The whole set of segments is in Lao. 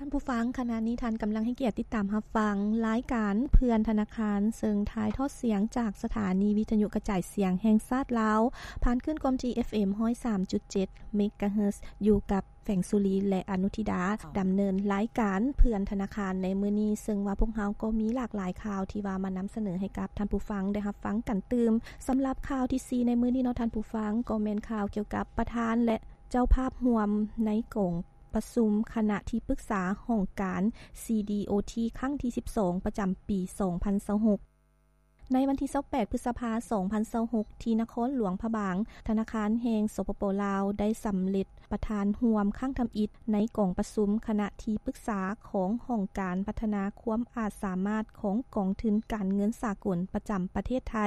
ທ່ານຜູ້ຟັງ, ຂະນະນີ້ທ່ານກຳລັງໃຫ້ກຽດຕິດຕາມຮັບຟັງລາຍການເພື່ອນທະນາຄານ, ເຊິ່ງຖ່າຍທອດສຽງຈາກສະຖານີວິທະຍຸກະຈາຍສຽງແຫ່ງຊາດລາວ, ຜ່ານຄື້ນຄວາມຖີ່ ເອັຟເອັມ ຮ້ອຍສາມຈຸດເຈັດ ເມກາເຮີດ ຢູ່ກັບ ແສງສຸລີ ແລະ ອະນຸທິດາ ດຳເນີນລາຍການເພື່ອນທະນາຄານໃນມື້ນີ້, ເຊິ່ງວ່າພວກເຮົາກໍມີຫຼາກຫຼາຍຂ່າວທີ່ວ່າມານຳສະເໜີໃຫ້ກັບທ່ານຜູ້ຟັງໄດ້ຮັບຟັງກັນຕື່ມ. ສຳລັບຂ່າວທີສີ່ໃນມື້ນີ້ເນາະທ່ານຜູ້ຟັງ, ກໍແມ່ນຂ່າວກ່ຽວກັບປະທານ ແລະ ເຈົ້າພາບຮ່ວມໃນກອງປະຊຸມຄະນະທີ່ປຶກສາຫ້ອງການ ຊີດີໂອທີ ຄັ້ງທີສິບສອງ ປະຈຳປີສອງພັນຊາວຫົກ. ໃນວັນທີຊາວແປດ ພຶດສະພາ ສອງພັນຊາວຫົກ ທີ່ນະຄອນຫຼວງພະບາງ, ທະນາຄານແຫ່ງ ສປປ ລາວ ໄດ້ສຳເລັດປະທານຮ່ວມຄັ້ງທຳອິດໃນກອງປະຊຸມຄະນະທີ່ປຶກສາຂອງຫ້ອງການພັດທະນາຄວາມອາດສາມາດຂອງກອງທຶນການເງິນສາກົນປະຈຳປະເທດໄທ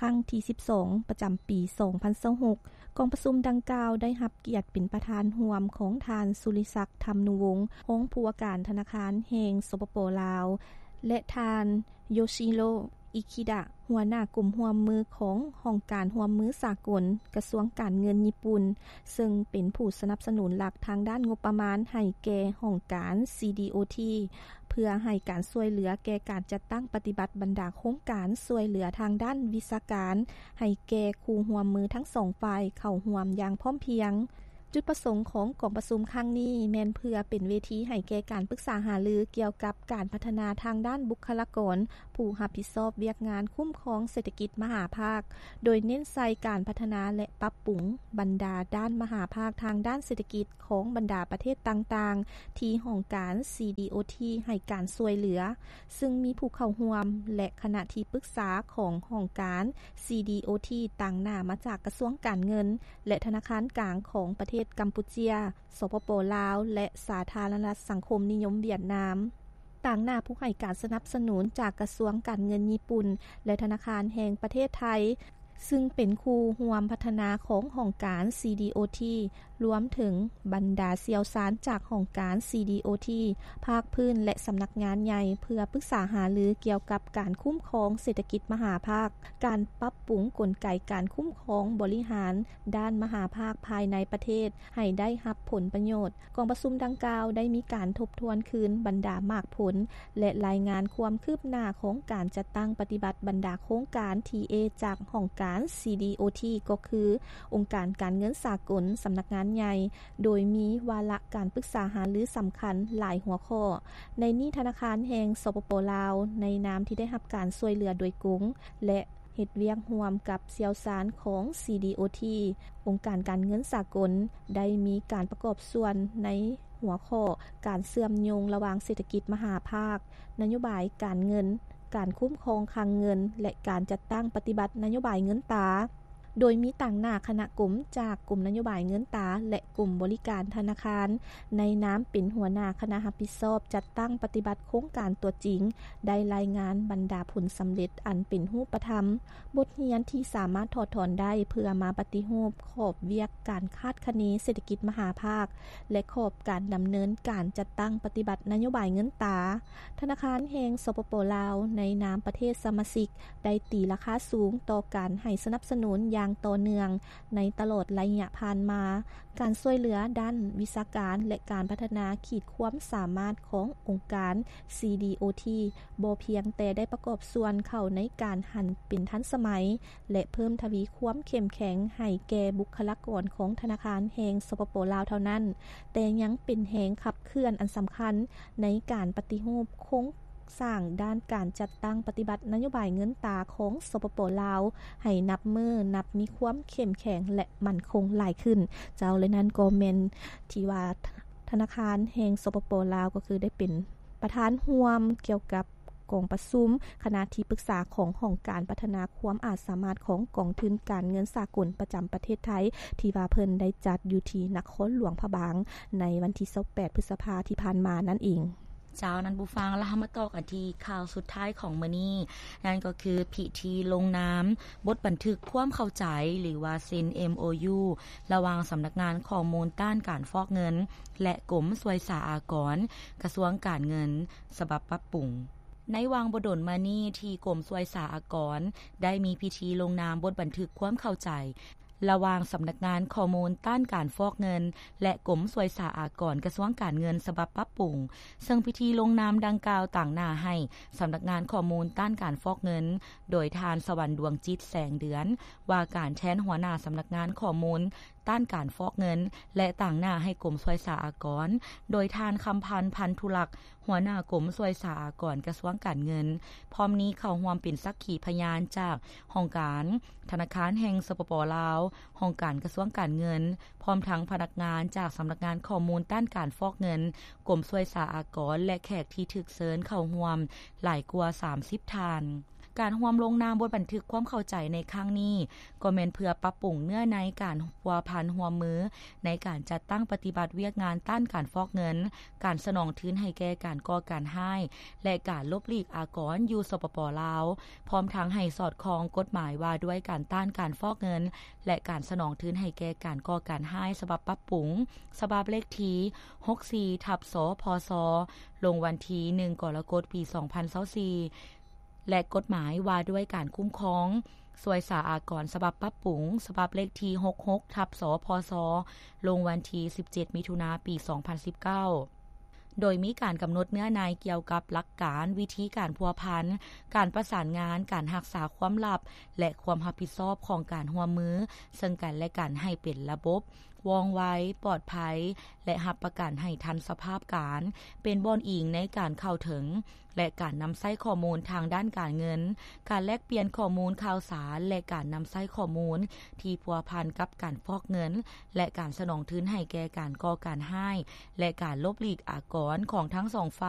ຄັ້ງທີສິບສອງ ປະຈຳປີສອງພັນຊາວຫົກ. ກອງປະຊຸມດັ່ງກ່າວໄດ້ຮັບກຽດເປັນປະທານຮ່ວມຂອງທ່ານ ສຸລິສັກ ທຳນຸວົງ ຮອງຜູ້ວ່າການທະນາຄານແຫ່ງ ສປປ ລາວ ແລະ ທ່ານ ໂຢຊິໂຣ ອິຄິດະ ຫົວໜ້າກົມຮ່ວມມືຂອງຫ້ອງການຮ່ວມມືສາກົນ ກະຊວງການເງິນຍີ່ປຸ່ນ, ເຊິ່ງເປັນຜູ້ສະໜັບສະໜູນຫຼັກທາງດ້ານງົບປະມານໃຫ້ແກ່ຫ້ອງການ ຊີດີໂອທີ ເພື່ອໃຫ້ການຊ່ວຍເຫຼືອແກ່ການຈັດຕັ້ງປະຕິບັດບັນດາໂຄງການຊ່ວຍເຫຼືອທາງດ້ານວິຊາການ ໃຫ້ແກ່ຄູ່ຮ່ວມມືທັງສອງຝ່າຍເຂົ້າຮ່ວມຢ່າງພ້ອມພຽງ. ຈຸດປະສົງຂອງກອງປະຊຸມຄັ້ງນີ້ແມ່ນເພື່ອເປັນເວທີໃຫ້ແກ່ການປຶກສາຫາລືກ່ຽວກັບການພັດທະນາທາງດ້ານບຸກຄະລາກອນ ຜູ້ຮັບຜິດຊອບວຽກງານຄຸ້ມຄອງເສດຖະກິດມະຫາພາກ, ໂດຍເນັ້ນໃສ່ການພັດທະນາ ແລະ ປັບປຸງບັນດາດ້ານມະຫາພາກທາງດ້ານເສດຖະກິດຂອງບັນດາປະເທດຕ່າງໆ ທີ່ຫ້ອງການ ຊີດີໂອທີ ໃຫ້ການຊ່ວຍເຫຼືອ, ຊຶ່ງມີຜູ້ເຂົ້າຮ່ວມ ແລະ ຄະນະທີ່ປຶກສາຂອງຫ້ອງການ ຊີດີໂອທີ ຕາງໜ້າມາຈາກກະຊວງການເງິນ ແລະ ທະນາຄານກາງຂອງປະເທດກຳປູເຈຍ, ສປປ ລາວ ແລະ ສາທາລະນະລັດສັງຄົມນິຍົມຫວຽດນາມ, ຕາງໜ້າຜູ້ໃຫ້ການສະໜັບສະໜູນຈາກກະຊວງການເງິນຍີ່ປຸ່ນ ແລະ ທະນາຄານແຫ່ງປະເທດໄທ, ຊຶ່ງເປັນຄູ່ຮ່ວມພັດທະນາຂອງຫ້ອງການ ຊີດີໂອທີ, ລວມເຖິງບັນດາຊ່ຽວຊານຈາກຫ້ອງການ ຊີດີໂອທີ ພາກພື້ນ ແລະ ສຳນັກງານໃຫຍ່ ເພື່ອປຶກສາຫາລືກ່ຽວກັບການຄຸ້ມຄອງເສດຖະກິດມະຫາພາກ, ການປັບປຸງກົນໄກການຄຸ້ມຄອງບໍລິຫານດ້ານມະຫາພາກພາຍໃນປະເທດ ໃຫ້ໄດ້ຮັບຜົນປະໂຫຍດ. ກອງປະຊຸມດັ່ງກ່າວໄດ້ມີການທົບທວນຄືນບັນດາໝາກຜົນ ແລະ ລາຍງານຄວາມຄືບໜ້າຂອງການຈັດຕັ້ງປະຕິບັດບັນດາໂຄງການ ທີເອ ຈາກຫ້ອງການ ຊີດີໂອທີ ກໍຄື ອົງການການເງິນສາກົນ, ສຳນັກງານໃຫຍ່, ໂດຍມີວາລະການປຶກສາຫາລືສຳຄັນຫຼາຍຫົວຂໍ້. ໃນນີ້ທະນາຄານແຫ່ງ ສປປ ລາວ ໃນນາມທີ່ໄດ້ຮັບການຊ່ວຍເຫຼືອໂດຍກົງ ແລະ ເຮັດວຽກຮ່ວມກັບຊ່ຽວຊານຂອງ ຊີດີໂອທີ, ອົງການການເງິນສາກົນ ໄດ້ມີການປະກອບສ່ວນໃນຫົວຂໍ້ການເຊື່ອມໂຍງລະຫວ່າງເສດຖະກິດມະຫາພາກ, ນະໂຍບາຍການເງິນ, ການຄຸ້ມຄອງຄັງເງິນ ແລະ ການຈັດຕັ້ງປະຕິບັດນະໂຍບາຍເງິນຕາ, ໂດຍມີຕາງໜ້າຄະນະກົມຈາກກົມນະໂຍບາຍເງິນຕາ ແລະ ກົມບໍລິການທະນາຄານ ໃນນາມເປັນຫົວໜ້າຄະນະຮັບຜິດຊອບຈັດຕັ້ງປະຕິບັດໂຄງການຕົວຈິງ ໄດ້ລາຍງານບັນດາຜົນສຳເລັດອັນເປັນຮູບປະທຳ, ບົດຮຽນທີ່ສາມາດຖອດຖອນໄດ້ເພື່ອມາປະຕິຮູບຂອບວຽກການຄາດຄະເນເສດຖະກິດມະຫາພາກ ແລະ ຂອບການດຳເນີນການຈັດຕັ້ງປະຕິບັດນະໂຍບາຍເງິນຕາ. ທະນາຄານແຫ່ງ ສປປ ລາວ ໃນນາມປະເທດສະມາຊິກ ໄດ້ຕີລາຄາສູງຕໍ່ການໃຫ້ສະໜັບສະໜູນຢ່າງຕໍ່ເນື່ອງໃນຕະຫຼອດໄລຍະຜ່ານມາ. ການຊ່ວຍເຫຼືອດ້ານວິຊາການ ແລະ ການພັດທະນາຂີດຄວາມສາມາດຂອງອົງການ ຊີດີໂອທີ ບໍ່ພຽງແຕ່ໄດ້ປະກອບສ່ວນເຂົ້າໃນການຫັນເປັນທັນສະໄໝ ແລະ ເພີ່ມທະວີຄວາມເຂັ້ມແຂງໃຫ້ແກ່ບຸກຄະລາກອນຂອງທະນາຄານແຫ່ງ ສປປ ລາວ ເທົ່ານັ້ນ, ແຕ່ຍັງເປັນແຮງຂັບເຄື່ອນອັນສຳຄັນໃນການປະຕິຮູບໂຄງ ສ້າງດ້ານການຈັດຕັ້ງປະຕິບັດນະໂຍບາຍເງິນຕາຂອງ ສປປ ລາວ ໃຫ້ນັບມື້ນັບມີຄວາມເຂັ້ມແຂງ ແລະ ໝັ້ນຄົງຫຼາຍຂຶ້ນ. ເຈົ້າ ແລະ ນັ້ນກໍແມ່ນທີ່ວ່າທະນາຄານແຫ່ງ ສປປ ລາວ ກໍຄືໄດ້ເປັນປະທານຮ່ວມກ່ຽວກັບກອງປະຊຸມຄະນະທີ່ປຶກສາຂອງຫ້ອງການພັດທະນາຄວາມອາດສາມາດຂອງກອງທຶນການເງິນສາກົນປະຈຳປະເທດໄທ ທີ່ວ່າເພິ່ນໄດ້ຈັດຢູ່ທີ່ນະຄອນຫຼວງພະບາງ ໃນວັນທີຊາວແປດ ພຶດສະພາທີ່ຜ່ານມານັ້ນເອງ. ເຈົ້າ ທ່ານຜູ້ຟັງ, ລະເຮົາມາຕໍ່ກັນທີ່ຂ່າວສຸດທ້າຍຂອງມື້ນີ້, ນັ້ນກໍຄືພິທີລົງນາມບົດບັນທຶກຄວາມເຂົ້າໃຈ ຫຼືວ່າເຊັນ ເອັມໂອຢູ ລະຫວ່າງສຳນັກງານຂໍ້ມູນຕ້ານການຟອກເງິນ ແລະ ກົມສ່ວຍສາອາກອນ ກະຊວງການເງິນ ສະບັບປັບປຸງ. ໃນຫວ່າງບໍ່ດົນມານີ້ທີ່ກົມສ່ວຍສາອາກອນໄດ້ມີພິທີລົງນາມບົດບັນທຶກຄວາມເຂົ້າໃຈ ລະຫວ່າງສຳນັກງານຂໍ້ມູນຕ້ານການຟອກເງິນ ແລະ ກົມສ່ວຍສາອາກອນ ກະຊວງການເງິນ ສະບັບປັບປຸງ, ເຊິ່ງພິທີລົງນາມດັ່ງກ່າວຕາງໜ້າໃຫ້ສຳນັກງານຂໍ້ມູນຕ້ານການຟອກເງິນ ໂດຍທ່ານ ສະຫວັນ ດວງຈິດ ແສງເດືອນ ວ່າການແທນຫົວໜ້າສຳນັກງານຂໍ້ມູນ ຕ້ານການຟອກເງິນ ແລະ ຕາງໜ້າໃຫ້ກົມສ່ວຍສາອາກອນ ໂດຍທ່ານ ຄຳພັນ ພັນທຸລັກ ຫົວໜ້າກົມສ່ວຍສາອາກອນ ກະຊວງການເງິນ, ພ້ອມນີ້ເຂົ້າຮ່ວມເປັນສັກຂີພະຍານຈາກຫ້ອງການທະນາຄານແຫ່ງ ສປປ ລາວ, ຫ້ອງການກະຊວງການເງິນ, ພ້ອມທັງພະນັກງານຈາກສຳນັກງານຂໍ້ມູນຕ້ານການຟອກເງິນ, ກົມສ່ວຍສາອາກອນ ແລະ ແຂກທີ່ຖືກເຊີນເຂົ້າຮ່ວມຫຼາຍກວ່າສາມສິບທ່ານ. ການຮ່ວມລົງນາມບົດບັນທຶກຄວາມເຂົ້າໃຈໃນຄັ້ງນີ້ ກໍແມ່ນເພື່ອປັບປຸງເນື້ອໃນການພົວພັນຮ່ວມມືໃນການຈັດຕັ້ງປະຕິບັດວຽກງານຕ້ານການຟອກເງິນ, ການສະໜອງທຶນໃຫ້ແກ່ການກໍ່ການຮ້າຍ ແລະ ການຫຼົບຫຼີກອາກອນຢູ່ ສປປ ລາວ, ພ້ອມທັງໃຫ້ສອດຄ່ອງກົດໝາຍວ່າດ້ວຍການຕ້ານການຟອກເງິນ ແລະ ການສະໜອງທຶນໃຫ້ແກ່ການກໍ່ການຮ້າຍ ສະບັບປັບປຸງ, ສະບັບເລກທີຫົກສີ່ທັບ ສພສ ລົງວັນທີໜຶ່ງ ກໍລະກົດ ປີສອງພັນຊາວສີ່ ແລະ ກົດໝາຍວ່າດ້ວຍການຄຸ້ມຄອງສ່ວຍສາອາກອນ ສະບັບປັບປຸງ, ສະບັບເລກທີຫົກຫົກທັບ ສພສ ລົງວັນທີສິບເຈັດ ມິຖຸນາ ປີສອງພັນສິບເກົ້າ ໂດຍມີການກຳນົດເນື້ອໃນກ່ຽວກັບຫຼັກການ, ວິທີການພົວພັນ, ການປະສານງານ, ການຮັກສາຄວາມລັບ ແລະ ຄວາມຮັບຜິດຊອບຂອງການຮ່ວມມືເຊິ່ງກັນ ແລະ ກັນໃຫ້ເປັນລະບົບ, ວ່ອງໄວ, ປອດໄພ ແລະ ຮັບປະກັນໃຫ້ທັນສະພາບການ, ເປັນບ່ອນອີງໃນການເຂົ້າເຖິງ ແລະ ການນຳໃຊ້ຂໍ້ມູນທາງດ້ານການເງິນ, ການແລກປ່ຽນຂໍ້ມູນຂ່າວສານ ແລະ ການນຳໃຊ້ຂໍ້ມູນທີ່ພົວພັນກັບການຟອກເງິນ ແລະ ການສະໜອງທຶນໃຫ້ແກ່ການກໍ່ການຮ້າຍ ແລະ ການຫຼົບຫຼີກອາກອນຂອງທັງສອງຝ່າຍ.